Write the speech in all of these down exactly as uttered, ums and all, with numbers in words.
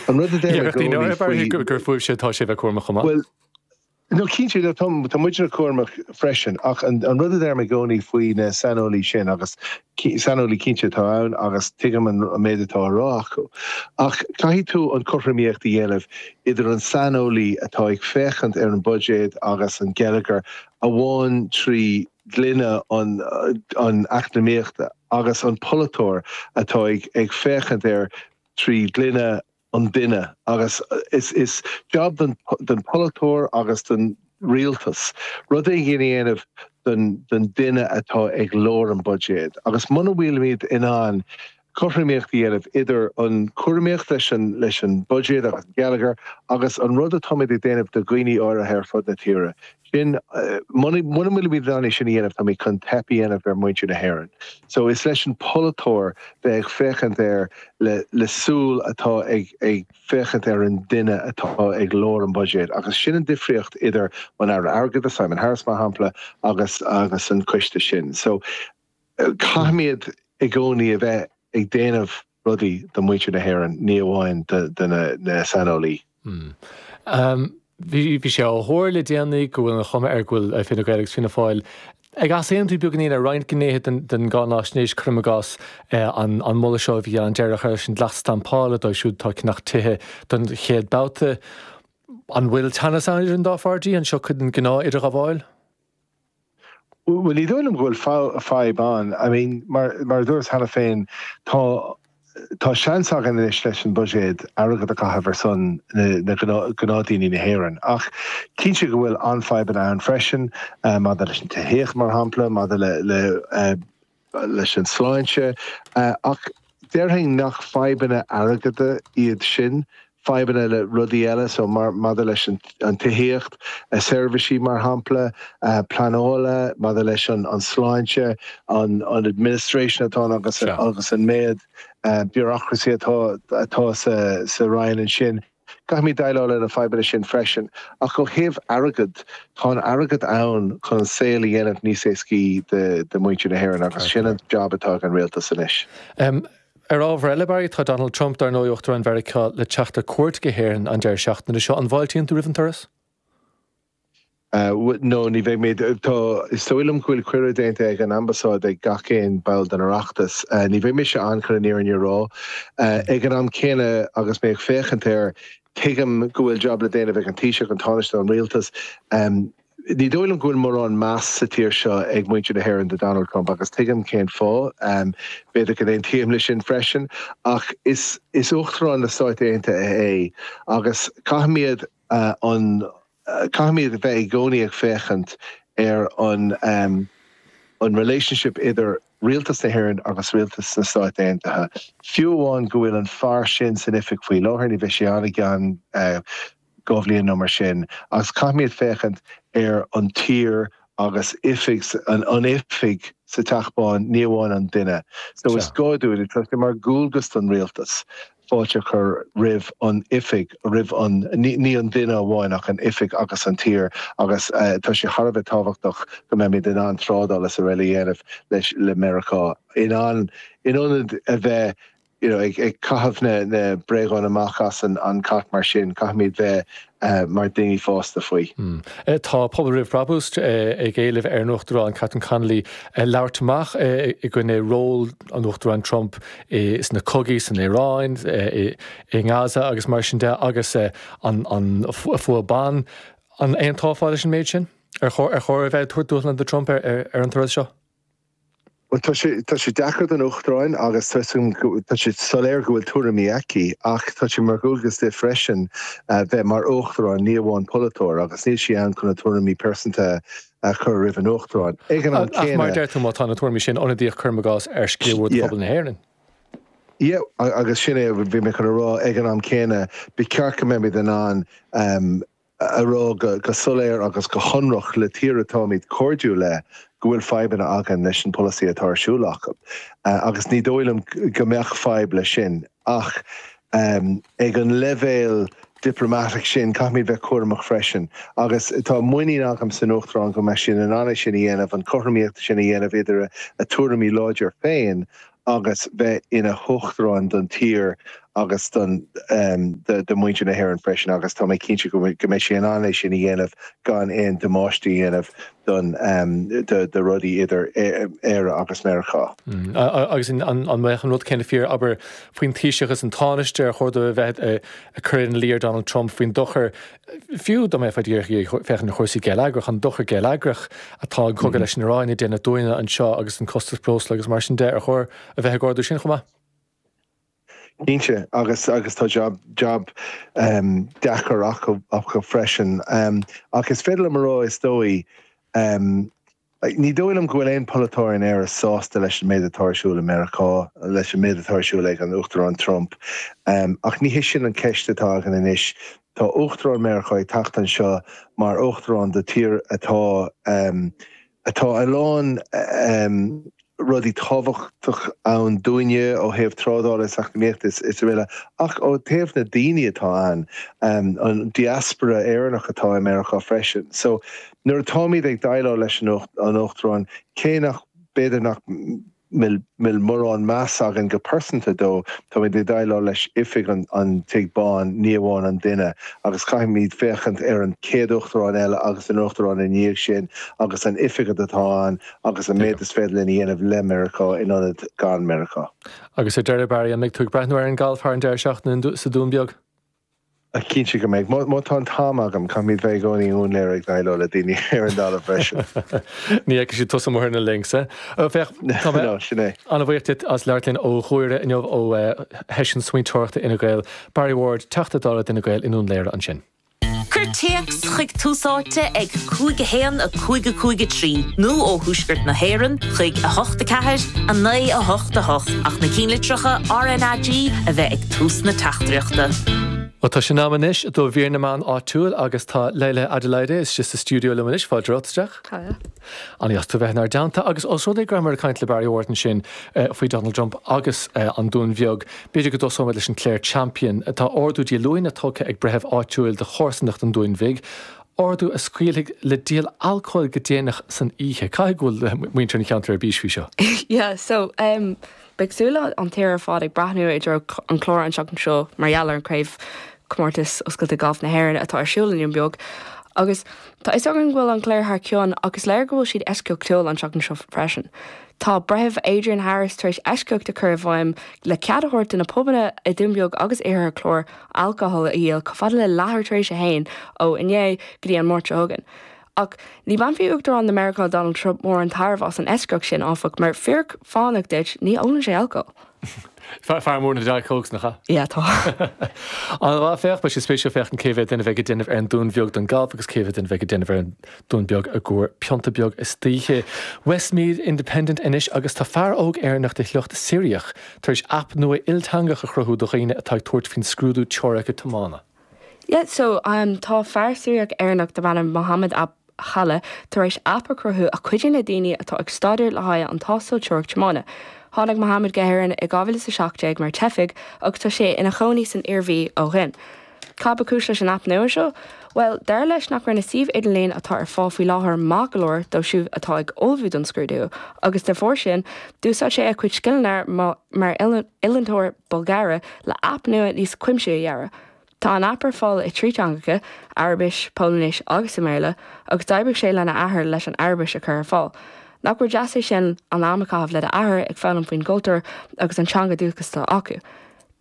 An rud a deirim i gcónaí faoi gur fúibhse atá sé bheith cúramach chomh maith. Bhuel, no cinnte, tá tá muidne cúramach freisin, ach an an rud a deirim i gcónaí faoi na saineolaí sin, agus saineolaí cinnte atá ann agus tuigim an méid atá á rá acu, ach caithfidh tú an cothromaíocht a dhéanamh idir an saineolaí atá ag féachaint ar an buiséad agus an geilleagar amháin trí ghloine an an eacnamaíochta agus an polaiteoir atá ag ag féachaint air trí ghloine an duine. Agus is is job don don polaiteoir agus don rialtas rud éigin a dhéanamh don don duine atá ag lár an buiséad. Agus muna bhfuilimid in ann cothromaíocht a dhéanamh idir an cúramaíocht leis an leis an buiséad agus an geilleagar agus an rud atáimid ag déanamh do dhaoine áirithe ar fud na tíre sin, muna bhfuilimid in ann é sin a dhéanamh, táimid chun teip a dhéanamh ar mhuintir na hÉireann. So is leis an polaiteoir bheith ag féachaint air le le súil atá ag ag féachaint ar an duine atá ag lár an buiséad, agus sin an difríocht idir an Aire Airgeadais, Simon Harris mar shampla, agus agus an coiste sin. So caithfimid i gcónaí a bheith ag déanamh rudaí do mhuintir na hÉireann, ní amháin do na saineolaí. Bhí bhí sé á thuar le déanaí go bhfuil an chuma air go bhfuil Fine Gael agus Fianna Fáil ag easaontú beagáinín ar roinnt gnéithe den den gcáinaisnéis, cuirim i gcás an an moladh seo a bhí ann deireadh leis an dleacht stampála dóibh siúd atá ag ceannach tithe don chéad babhta. An bhfuil teannas ann idir an dá pháirtí? An seo cuid den ghnáth-idirghabháil? Bhuel, ní dóigh liom go bhfuil fadhb ann. I mean, mar mar a dúras cheana féin, tá tá seans againn anois leis an buiséad airgead a chaitheamh ar son na na gnáthdaoine na hÉireann. Ach cinnte go bhfuil an-fhadhbanna ann freisin, maidir leis an tithíocht, mar shampla, maidir le le leis an sláinte. Ach déarfainn nach fadhbanna airgeada iad sin, fadhbanna le rudaí eile, so mar maidir leis an an tithíocht, seirbhísí mar shampla, pleanála, maidir leis an an sláinte, an an administration atá ann agus agus an méid bureaucracy atá atá sa sa Roinn ansin. Caithfimid déileáil le na fadhbanna sin freisin. Ach ó thaobh airgead, tá an airgead ann chun an saol a dhéanamh níos éascaí do do mhuintir na hÉireann agus sin an job atá ag an rialtas anois. Ar ábhar eile, Barry, tá Donald Trump, dar ndóigh, Uachtarán Mheiriceá, le teacht ar cuairt go hÉirinn an deireadh seachtaine seo. An bhfáiltíonn tú roimh an turas? No, ní bheidh mé. Tá, is dóigh liom go bhfuil cuireadh déanta ag an ambasáid ag gach aon ball den Oireachtas. Ní bheidh mise ann chun an fhírinne a rá. Ag an am céanna, agus mé ag féachaint air, tuigim go bhfuil job le déanamh ag an Taoiseach, an Tánaiste, an rialtas. Ní dóigh liom go bhfuil mórán meas sa tír seo ag muintir na hÉireann do Donald Trump agus tuigim cén fáth. B'fhéidir go n-aontaím leis sin freisin, ach is is Uachtarán na Stáit Aontaithe é agus caithfimid an caithfimid a bheith i gcónaí ag féachaint ar an an relationship idir rialtas na hÉireann agus rialtas na Stáit Aontaithe. Fiú amháin go bhfuil an fear sin san oifig faoi láthair, ní bheidh sé ann i gceann dhá bhliain nó mar sin, agus caithfimid féachaint ar an tír agus oifig an an oifig sa Teach Bán, ní amháin an duine. So is gá dúinn, tá sé mar dhualgas don rialtas fáilte a chur roimh an oifig, roimh an, ní an duine amháin ach an oifig agus an tír, agus tá sé thar a bheith tábhachtach go mbeimid in ann trádáil is araile a dhéanamh leis le Meiriceá, in ann, in ionad a bheith you know ag ag caitheamh na na bréagáin amach as an an cat mar sin, caithfimid bheith mar daoine fásta faoi. Tá Pobal Roimh Brabús ag éileamh ar an Uachtarán Catherine Connolly labhairt amach i gcoinne ról an Uachtaráin Trump sna cogaí san Iaráin, i nGaza agus mar sin de, agus an fuath ban. An aontófá leis an méid sin? Ar chóir a bheith ag tabhairt dúshlán do Trump ar an turas seo? Bhuel, tá sé, tá sé deacair don Uachtaráin agus tá tá sé soiléir go bhfuil tuairimí aici, ach tá sé mar dhualgas di freisin bheith mar Uachtarán, ní amháin polaiteoir, agus níl sí ann chun a tuairimí pearsanta a chur roimh an Uachtarán. Ag an am Ach mar céanna. deir tú, má tá na tuairimí sin ionadaíoch, cuirim i gcás, ar sciar mhór de Yeah. phobal na hÉireann. Yeah, agus sin é a bhí mé chun a rá, ag an am céanna, ba cheart go mbeimid in ann a rá go soiléir agus go hionraic le tír atáimid cairdiúil le go bhfuil fadhbanna againn leis an polasaí atá ar siúl acu. Agus ní dóigh liom go mbeadh fadhb leis sin. Ach ag an leibhéal diplomatic sin, caithfimid bheith cúramach freisin. Agus tá muinín agam san Uachtarán go mbeidh sí in ann é sin a dhéanamh, an chothromaíocht sin a dhéanamh idir a tuairimí láidir féin agus bheith ina huachtarán don tír agus don do mhuintir na hÉireann freisin agus tá mé cinnte go mbeidh sé in ann é sin a dhéanamh gan aon damáiste a dhéanamh don do rudaí idir Éire agus Meiriceá. Agus an mbeadh an rud céanna fíor abair faoin Taoiseach is an Tánaiste ar chóir dó a bheith ag cur ina luí ar Donald Trump faoin dochar fiú dá mbeifeá díreach ag féachaint ar chúrsaí geilleagrach an dochar geilleagrach atá an cogadh leis an Iaráin ag déanamh dúinne anseo agus an costas breosla agus mar sin de ar chóir a bheith ag ardú sin chomh maith? Cinnte agus agus tá job job um, deacair acu acu freisin um, ach is féidir liom a rá is dóigh um, ní dóigh liom go bhfuil aon polaiteoir in Éire sásta leis an méid atá ar siúl i Meiriceá leis an méid atá ar siúl ag an Uachtarán Trump. Um, ach ní hé sin an ceist atá againn anois Tá Uachtarán Meiriceá ag teacht anseo mar Uachtarán de tír atá um, atá a lán um, rudaí tábhachtach ann dúinne ó thaobh trádála is eacnamaíochta is is araile ach ó thaobh na daoine atá ann um, an diaspora Éireannach atá i Meiriceá freisin. So nuair atáimid ag déileáil leis an Uachtarán cé nach b'fhéidir nach bhfuil mórán meas againn go pearsanta dó táimid ag déileáil leis oifig an, an Tigh Bháin ní amháin an duine agus caithfimid féachaint ar an chéad uachtarán eile agus an uachtarán i ndiaidh sin agus an oifig atá ann agus an méid is féidir linn a dhéanamh le Meiriceá in ionad gan Meiriceá. Agus ar deireadh Barry an mbeidh tú ag breathnú ar an galf thar an deireadh seachtaine sa Dún Beag? Cinnte go mbeidh má tá an t-am agam caithfimid bheith i gcónaí i nDún Laoghaire ag déileáil le daoine ar an dtalamh freisin. Ní fheicfidh siad tusa amuigh ar na links eh? Féach sin é. An-bhuíoch duit as labhairt linn ó Ghuaire inniu ó sheisiún smaointeoireachta Fhine Gael, Barry Ward, Teachta Dála d'Fhine Gael i nDún Laoghaire ansin. Cuir téacs chuig Tús Áite ag cúig a haon a cúig a cúig a trí nó ó Thuaisceart na hÉireann chuig a hocht a ceathair a naoi a hocht a hocht ach na cinnlitreacha RnaG a bheith ag tús na teachtaireachta. Well tá sé in am anois do mhír na meán áitiúil agus tá Leila Adelaide istigh sa stiúideo liom anois fáilte romhat isteach. An-deas tú bheith inár dteannta agus os rud é go rabhamar ag caint le Barry Ward ansin faoi Donald Trump agus an Dún Bheag. B'fhéidir go dtosóimid leis an Clare Champion. Tá ordú díolúine tugtha ag breitheamh áitiúil do chomharsanacht an Dúin Bhig. Ordú a scaoilfidh le díol alcóil go déanach san oíche. Caithfidh go bhfuil muintir an cheantair ar bís faoi seo. Yeah, so um, beidh súile an tír ar fad ag breathnú i dtreo an Chláir an seachtain seo mar gheall ar an craobh comórtas oscailte galf na hÉireann atá ar siúl i nDún Beag. Agus tá a fhios againn go bhfuil an Chléir thar cionn agus léir go bhfuil siad eisceachtúil an seachtain seo freisin. Tá breitheamh Adrian Harris tar éis eisceacht a chur i bhfeidhm le cead a thabhairt do na pubanna i Dún Beag agus Iarthar an Chláir alcohol a dhíol chomh fada le leathuair tar éis a haon ó inné go dtí an Máirt seo chugainn. Ach ní bhainfidh Uachtarán na Meiriceá Donald Trump mórán tairbhe as an eisceacht sin áfach mar fíric fánach duit ní ólann sé alcohol. Fear mór na Diet Cokes nach ea? Yeah tá. An féach beidh sé spéisiúil féachaint cé mhéad duine a bheidh ag déanamh ar an Dún Bheag don galf agus cé mhéad duine a bheidh ag déanamh ar an Dún Beag i gcomhair pionta beag istoíche. Westmeath Independent anois agus tá fear óg Éireannach de shliocht Siriach tar éis aip nua ilteangach a chruthú do dhaoine atá ag tabhairt faoin scrúdú teoirice tiomána. Yeah, so um, tá fear Siriach Éireannach darb ainm Mohammed Ab Chala tar éis aip a chruthú a chuidíonn le daoine atá ag staidéar le haghaidh an tástáil teoiric tiomána. Tháinig Mohammed go hÉirinn i dhá mhíle is a seacht déag mar teifigh agus tá sé ina chónaí san Iarmhí ó shin. Cad ba chúis leis an aip nua seo? Well, dar leis nach raibh na suímh idirlín atá ar fáil faoi láthair maith go leor dóibh siúd atá ag ullmhú don scrúdú, agus de bharr sin, d'úsáid sé a chuid scileanna mar oiliúntóir bogearra le aip nua níos cuimsithí a dhearadh. Tá an aip ar fáil i trí teangacha, Araibis, Polainnis agus i mBéarla, agus d'oibrigh sé lena athair leis an Araibis a chur ar fáil. Nach rud deas é sin an am a chaitheamh le d'athair ag foghlaim faoin gcultúr agus an teanga dúchais atá acu.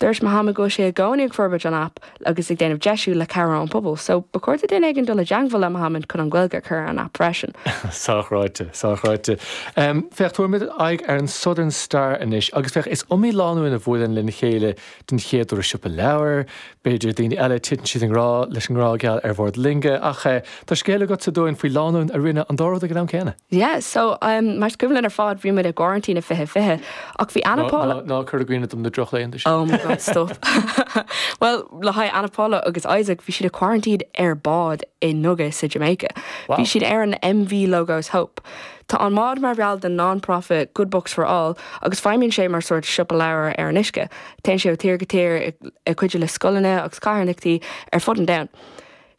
Dúirt Mohammed go bhfuil sé i gcónaí ag forbairt an aip agus ag déanamh deisiú le cabhair ón pobal, so ba chóir do duine éigin dul i dteagmháil le Mohammed chun an Ghaeilge a chur ar an aip freisin. Sách-ráite, sách-ráite. Féach, tabharfaimid aghaidh ar an Southern Star anois agus féach, is iomaí lánúin a bhuaileann lena chéile den chéad uair i siopa leabhar, b'fhéidir daoine eile titeann siad i ngrá leis an ngrá geal ar bhord loinge, ach tá scéal agatsa dúinn faoi lánúin a rinne an dá rud ag an am céanna. Yeah, so um, mar is cuimhin linn ar fad bhí muid i gcoraintín i fiche fiche ach bhí Anna Paula Ná cuir i gcuimhne dom na drochlaethanta sin. Oh my God, stop. Well, le haghaidh Anna Paula agus Isaac bhí siad i quarantine ar bád i nDuga sa Jamaica. Wow. Bhí siad ar an MV Logos Hope. Tá an bád mar bhall den non-profit Good Books for All agus feidhmíonn sé mar sórt siopa leabhar ar an uisce. Téann sé ó tír go tír ag cuidiú le scoileanna agus carthanachtaí ar fud an domhain.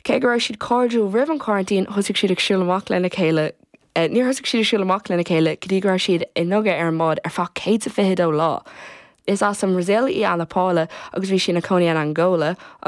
Cé go raibh siad cairdiúil roimh an quarantine, thosaigh siad ag siúl amach lena chéile eh, níor thosaigh siad ag siúl amach lena chéile go dtí go raibh siad i nDuga ar an mbád ar feadh céad is fiche dó lá. Is as an Brazil í Ana Paula agus bhí sí ina cónaí in Angola agus